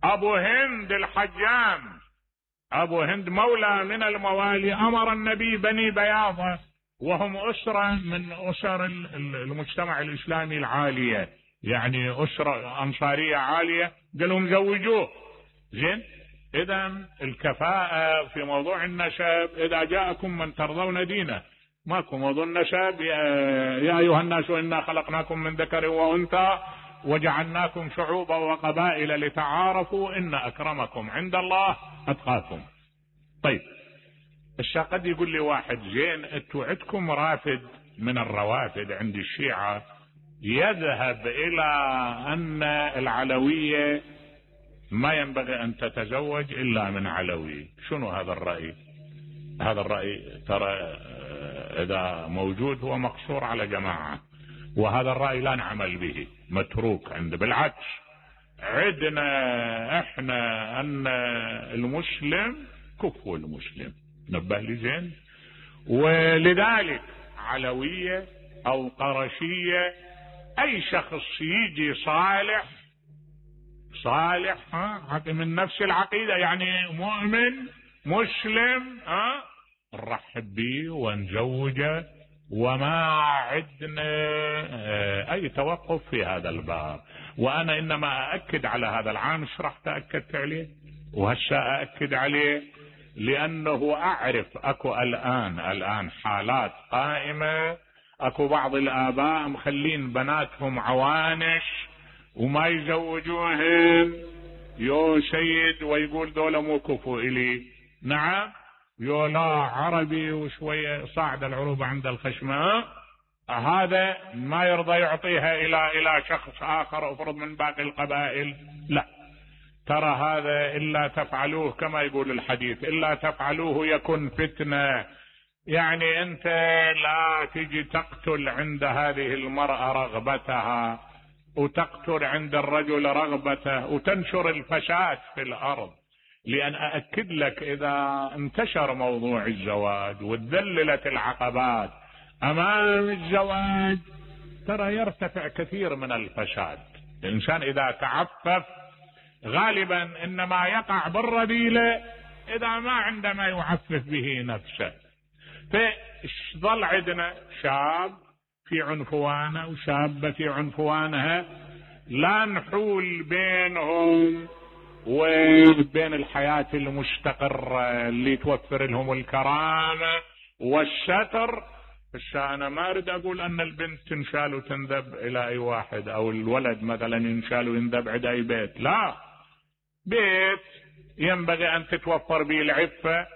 A: ابو هند الحجام، ابو هند مولى من الموالي، امر النبي بني بياضة وهم اسرة من اسر المجتمع الاسلامي العالية، يعني اسرة انصارية عالية، قال لهم زوجوه. زين اذا الكفاءة في موضوع النسب اذا جاءكم من ترضون دينه، ماكو موضوع النسب. يا ايها الناس انا خلقناكم من ذكر وانثى وجعلناكم شعوبا وقبائل لتعارفوا ان اكرمكم عند الله اتقاكم. طيب الشا قد يقول لي واحد زين انتوا عندكم رافد من الروافد عند الشيعة يذهب الى ان العلوية ما ينبغي ان تتزوج الا من علوي، شنو هذا الرأي؟ هذا الرأي ترى اذا موجود هو مقصور على جماعة، وهذا الرأي لا نعمل به، متروك عند. بالعكس عندنا احنا ان المسلم كفو المسلم. نبه لي زين. ولذلك علوية او قرشية اي شخص يجي صالح صالح ها من نفس العقيدة، يعني مؤمن مسلم ها نرحب به ونزوجه، وما عندنا اي توقف في هذا الباب. وانا انما اؤكد على هذا العام، شرحت اكدت عليه وهسه اؤكد عليه، لانه اعرف اكو الان الان حالات قائمة، اكو بعض الاباء مخلين بناتهم عوانش وما يزوجوهن يو سيد، ويقول دولة مو كفو الي. نعم يو لا عربي وشوية صاعد العروبة عند الخشمة، هذا ما يرضى يعطيها الى الى شخص اخر افرض من باقي القبائل. لا، ترى هذا الا تفعلوه كما يقول الحديث الا تفعلوه يكن فتنة. يعني انت لا تجي تقتل عند هذه المرأة رغبتها، وتقتل عند الرجل رغبته وتنشر الفساد في الارض. لان اأكد لك اذا انتشر موضوع الزواج وتذللت العقبات امام الزواج ترى يرتفع كثير من الفساد. الانسان اذا تعفف غالبا انما يقع بالرذيلة اذا ما عنده ما يعفف به نفسه. فظل عندنا شاب في عنفوانه وشابة في عنفوانها، لا نحول بينهم وبين الحياة المستقرة اللي توفر لهم الكرامة والستر. فانا ما اريد اقول ان البنت تنشال وتنذب الى اي واحد، او الولد مثلا ينشال وينذب عند اي بيت، لا، بيت ينبغي ان تتوفر به العفة،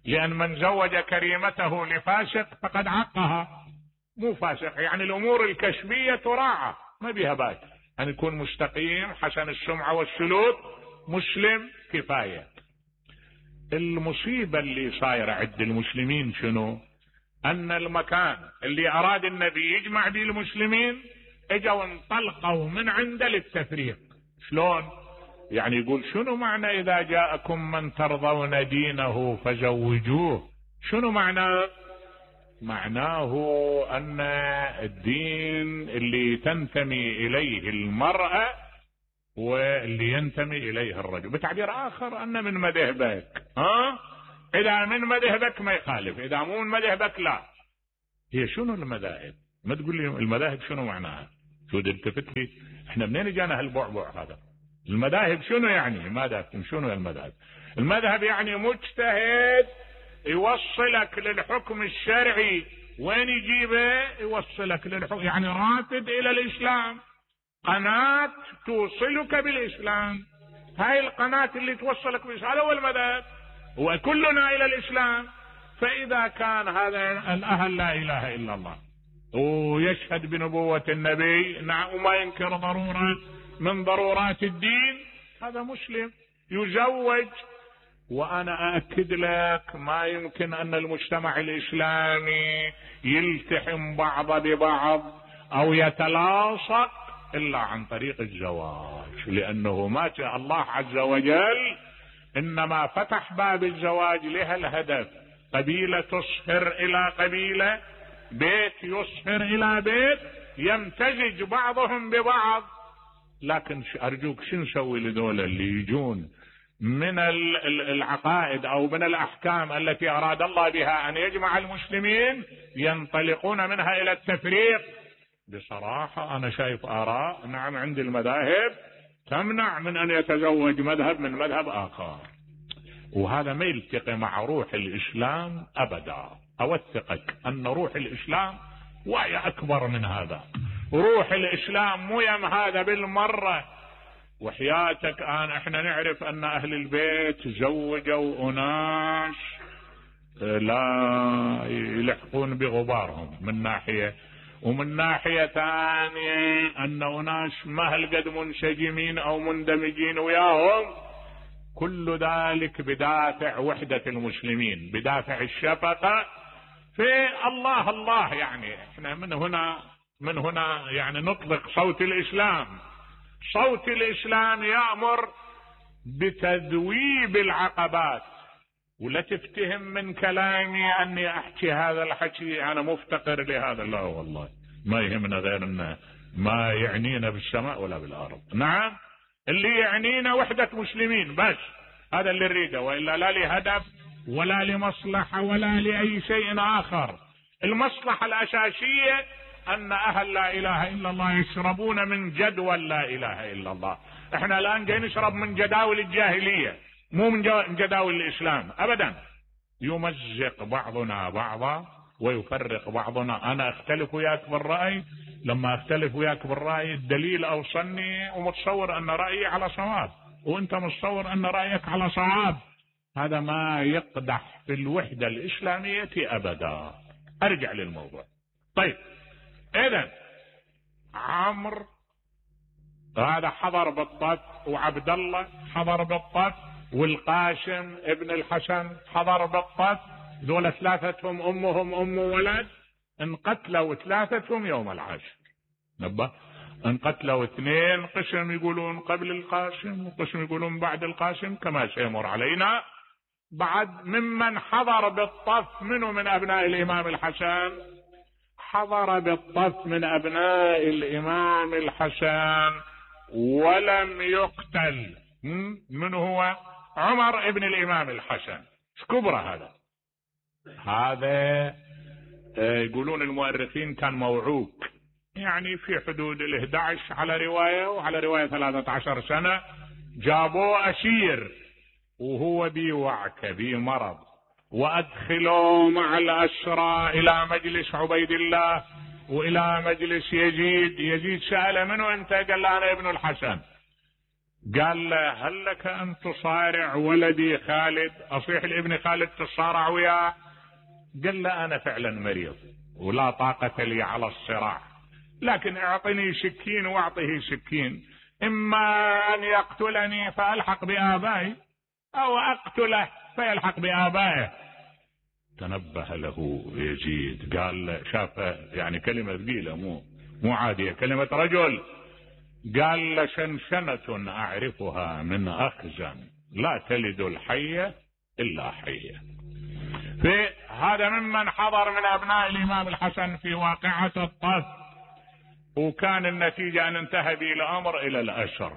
A: لان من زوج كريمته لفاسق فقد عقها. مو فاسق يعني الامور الكشفية تراعى، ما بيها باس، ان يكون مستقيم حسن السمعة والسلوك مسلم كفاية. المصيبة اللي صايرة عند المسلمين شنو؟ ان المكان اللي اراد النبي يجمع به المسلمين اجوا انطلقوا من عنده للتفريق. شلون؟ يعني يقول شنو معنى اذا جاءكم من ترضون دينه فزوجوه؟ شنو معناه؟ معناه ان الدين اللي تنتمي اليه المرأة واللي ينتمي اليه الرجل. بتعبير اخر ان من مذهبك، ها؟ اذا من مذهبك ما يخالف، اذا مو من مذهبك لا. هي شنو المذاهب؟ ما تقول لي المذاهب شنو معناها؟ شو التفت لي احنا منين جانا هالبعبع هذا؟ المذاهب شنو يعني؟ ماذا شنو المذهب؟ المذهب يعني مجتهد يوصلك للحكم الشرعي. وين يجيبه؟ يوصلك للحكم، يعني رافد الى الاسلام، قناة توصلك بالاسلام. هاي القناة اللي توصلك بالاسلام، هذا هو المذهب، وكلنا الى الاسلام. فاذا كان هذا الاهل لا اله الا الله ويشهد بنبوة النبي، نعم، وما ينكر ضرورة من ضرورات الدين، هذا مسلم يزوج. وانا اأكد لك ما يمكن ان المجتمع الاسلامي يلتحم بعض ببعض او يتلاصق الا عن طريق الزواج، لانه ما شاء الله عز وجل انما فتح باب الزواج لها الهدف. قبيلة تصهر الى قبيلة، بيت يصهر الى بيت، يمتزج بعضهم ببعض. لكن ارجوك شو نسوي لذول اللي يجون من العقائد او من الاحكام التي اراد الله بها ان يجمع المسلمين، ينطلقون منها الى التفريق؟ بصراحة انا شايف اراء، نعم، عند المذاهب تمنع من ان يتزوج مذهب من مذهب اخر، وهذا ما يلتقي مع روح الاسلام ابدا. اوثقك ان روح الاسلام وهي اكبر من هذا. روح الاسلام مو يم هذا بالمرة. وحياتك انا احنا نعرف ان اهل البيت زوجوا اناس لا يلحقون بغبارهم من ناحية، ومن ناحية ثانية ان اناس ما هالقد منسجمين او مندمجين وياهم. كل ذلك بدافع وحدة المسلمين، بدافع الشفقة في الله الله. يعني احنا من هنا من هنا يعني نطلق صوت الاسلام. صوت الاسلام يأمر بتذويب العقبات. ولا تفتهم من كلامي اني احكي هذا الحكي انا مفتقر لهذا، لا والله ما يهمنا غير ان ما يعنينا بالسماء ولا بالارض. نعم، اللي يعنينا وحدة مسلمين بس، هذا اللي نريده، والا لا لهدف ولا لمصلحة ولا لأي شيء آخر. المصلحة الأساسية أن أهل لا إله إلا الله يشربون من جدول لا إله إلا الله. احنا الآن جاي نشرب من جداول الجاهلية، مو من جداول الإسلام أبدا. يمزق بعضنا بعضا ويفرق بعضنا. أنا أختلف وياك بالرأي، لما أختلف وياك بالرأي الدليل أوصلني ومتصور أن رأيي على صواب، وأنت متصور أن رأيك على صواب. هذا ما يقدح في الوحدة الإسلامية أبدا. أرجع للموضوع. طيب، إذن عمرو هذا حضر بالطف، وعبد الله حضر بالطف، والقاسم ابن الحسن حضر بالطف. ذولا ثلاثتهم أمهم أم ولد، انقتلوا ثلاثتهم يوم العاشر. نبه انقتلوا اثنين، قسم يقولون قبل القاسم وقسم يقولون بعد القاسم كما سيمر علينا. بعد ممن حضر بالطف منه من أبناء الإمام الحسن، حضر بالطف من أبناء الإمام الحسن ولم يقتل. من هو؟ عمر ابن الإمام الحسن. كبرى هذا هذا يقولون المؤرخين كان موعوك، يعني في حدود الإحدى عشر على رواية، وعلى رواية ثلاثة عشر سنة. جابوه أسير وهو بوعكة بمرض، وأدخلوا مع الأسرى إلى مجلس عبيد الله وإلى مجلس يزيد. يزيد سأل منه أنت؟ قال له أنا ابن الحسن. قال له هل لك أن تصارع ولدي خالد؟ أصيح لابن خالد تصارع وياه؟ قال له أنا فعلا مريض ولا طاقة لي على الصراع، لكن اعطني سكين واعطه سكين، إما أن يقتلني فألحق بآبائي أو أقتله فيلحق بآبائه. تنبه له يزيد، قال شاف يعني كلمة ثقيلة مو مو عادية، كلمة رجل. قال لشنشنة أعرفها من أخزن لا تلد الحية إلا حية. في هذا ممن حضر من أبناء الإمام الحسن في واقعة الطف، وكان النتيجة أن انتهى به الأمر إلى الأسر.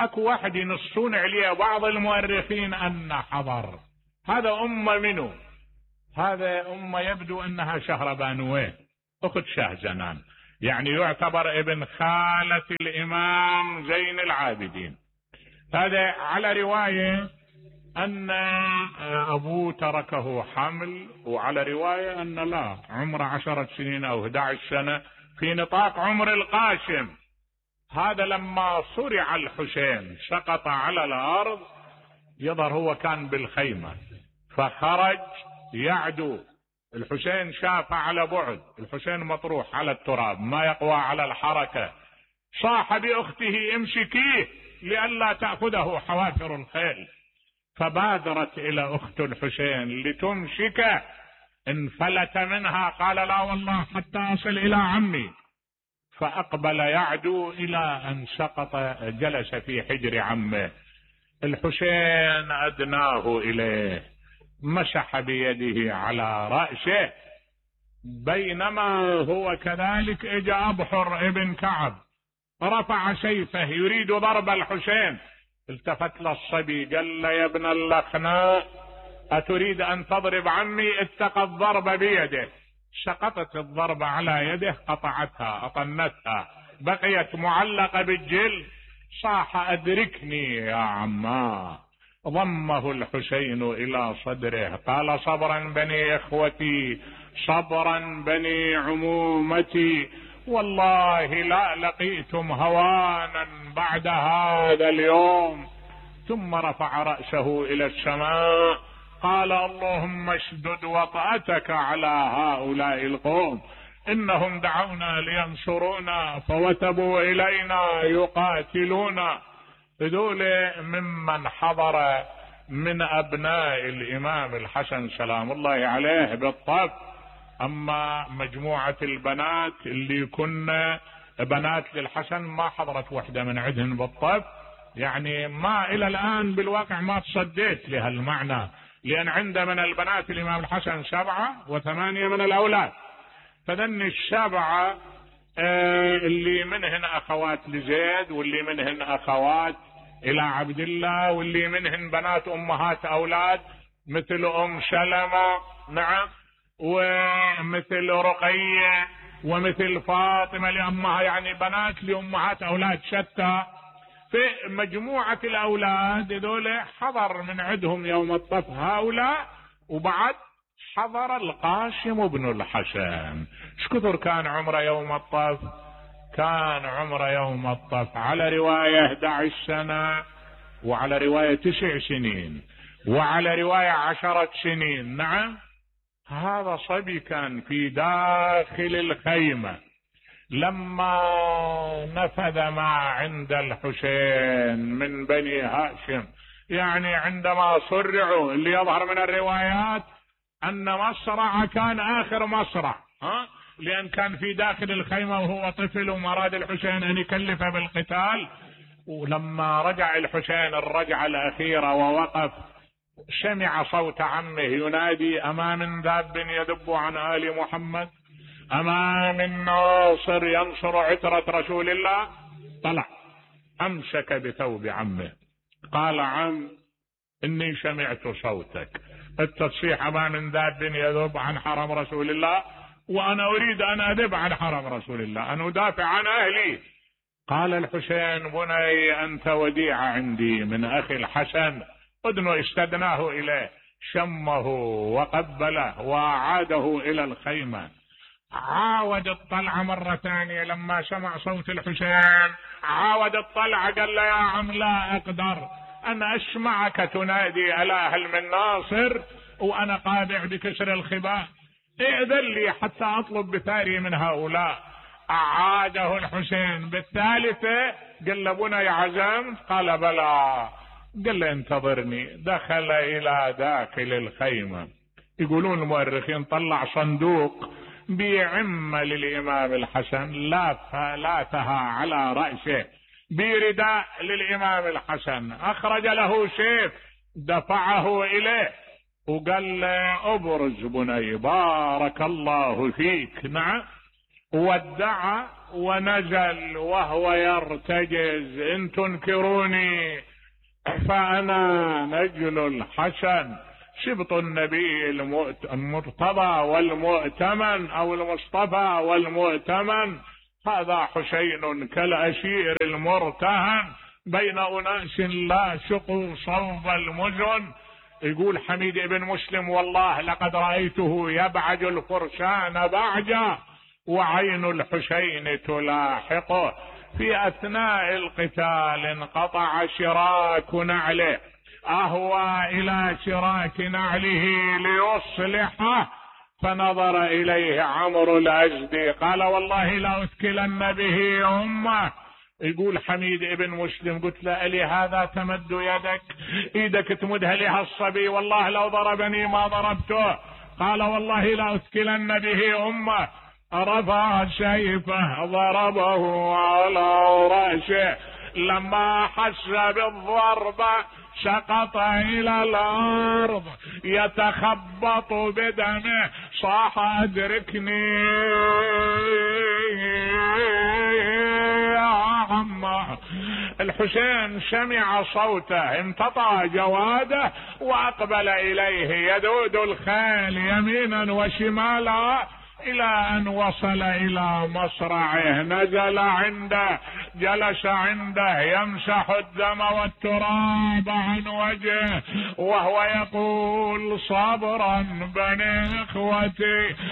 A: أكو واحد ينصون عليه بعض المؤرخين أن حضر. هذا أمة منه، هذا أمة يبدو أنها شهربانويه أخت شهزنان، يعني يعتبر ابن خالة الإمام زين العابدين. هذا على رواية أن أبوه تركه حمل، وعلى رواية أن لا عمره عشرة سنين أو أحد عشر سنة في نطاق عمر القاسم. هذا لما صرع الحسين سقط على الأرض، يظهر هو كان بالخيمة فخرج يعدو. الحسين شاف على بعد، الحسين مطروح على التراب ما يقوى على الحركة، صاح بأخته امسكيه لئلا تأخذه حوافر الخيل، فبادرت إلى أخت الحسين لتمسكه، انفلت منها قال لا والله حتى أصل إلى عمي، فأقبل يعدو إلى أن سقط جلس في حجر عمه. الحسين أدناه إليه مسح بيده على رأسه، بينما هو كذلك اجى أبحر ابن كعب رفع سيفه يريد ضرب الحسين، التفت للصبي قال له يا ابن اللخناء أتريد أن تضرب عمي؟ اتقى الضرب بيده. سقطت الضربة على يده، قطعتها أطنتها، بقيت معلقة بالجلد. صاح أدركني يا عما، ضمه الحسين إلى صدره قال صبرا بني إخوتي، صبرا بني عمومتي، والله لا لقيتم هوانا بعد هذا اليوم. ثم رفع رأسه إلى السماء قال اللهم اشدد وطأتك على هؤلاء القوم، إنهم دعونا لينصرونا فوتبوا إلينا يقاتلونا. هذول ممن حضر من أبناء الإمام الحسن سلام الله عليه بالطف. أما مجموعة البنات اللي كنا بنات للحسن ما حضرت وحدة من عندهن بالطف، يعني ما إلى الآن بالواقع ما تصديت لهالمعنى، لأن عند من البنات الإمام الحسن سبعة وثمانية من الأولاد، فذن السبعة اللي منهن أخوات لزيد، واللي منهن أخوات إلى عبد الله، واللي منهن بنات أمهات أولاد مثل أم سلمة، نعم، ومثل رقية، ومثل فاطمة لأمها، يعني بنات لأمهات أولاد شتى. في مجموعة الأولاد ذولا حضر من عندهم يوم الطف هؤلاء، وبعد حضر القاسم بن الحسن. شكثر كان عمره يوم الطف؟ كان عمره يوم الطف على رواية أحد عشر سنة، وعلى رواية تسع سنين، وعلى رواية عشرة سنين. نعم، هذا صبي كان في داخل الخيمة لما نفذ ما عند الحسين من بني هاشم، يعني عندما صرعوا، اللي يظهر من الروايات أن مصرع كان آخر مصرع، ها لأن كان في داخل الخيمة وهو طفل وما أراد الحسين أن يكلفه بالقتال. ولما رجع الحسين الرجعة الأخيرة ووقف سمع صوت عمه ينادي: أما من ذاب يذب عن آل محمد؟ أما من ناصر ينصر عترة رسول الله؟ طلع أمسك بثوب عمه قال: عم إني سمعت صوتك التصيح أما من ذاب يذب عن حرم رسول الله، وأنا أريد أن أذب عن حرم رسول الله، أن أدافع عن أهلي. قال الحسين: بني أنت وديعة عندي من أخي الحسن. أدنو استدناه إليه، شمه وقبله وأعاده إلى الخيمة. عاود الطلعة مرة ثانية لما سمع صوت الحسين، عاود الطلعة قال له: يا عم لا أقدر أن أسمعك تنادي ألا هل من ناصر وأنا قادع بكسر الخباء، ائذن لي حتى أطلب بثاري من هؤلاء. أعاده الحسين بالثالثة، قال له: بني عزمت؟ قال: بلى. قال له: انتظرني. دخل إلى داخل الخيمة. يقولون المؤرخين طلع صندوق بعمة للإمام الحسن، لافها على رأسه، برداء للإمام الحسن، أخرج له سيف دفعه إليه وقال له: أبرز بني بارك الله فيك. نعم. ودع ونزل وهو يرتجز: إن تنكروني فأنا نجل الحسن شبط النبي المرتضى والمؤتمن أو المصطفى والمؤتمن، هذا حسين كالأسير المرتهن بين أناس لا شقوا صوب المزن. يقول حميد بن مسلم: والله لقد رأيته يبعج الفرسان بعجا وعين الحسين تلاحقه. في أثناء القتال انقطع شراك نعله، أهوى إلى شراك نعله ليصلحه، فنظر إليه عمرو الأزدي قال: والله لا أثكلن به أمه. يقول حميد بن مسلم: قلت له: ألي هذا تمد يدك، إيدك تمدها لها الصبي، والله لو ضربني ما ضربته. قال: والله لا أثكلن به أمه. رفع سيفه ضربه على رأسه، لما حس بالضربة سقط إلى الأرض يتخبط بدمه، صاح: أدركني يا عمه. الحسين سمع صوته، امتطى جواده وأقبل إليه يذود الخيل يمينا وشمالا إلى أن وصل إلى مصرعه. نزل عنده، جلس عنده يمسح الدم والتراب عن وجهه وهو يقول: صبرا بني إخوتي.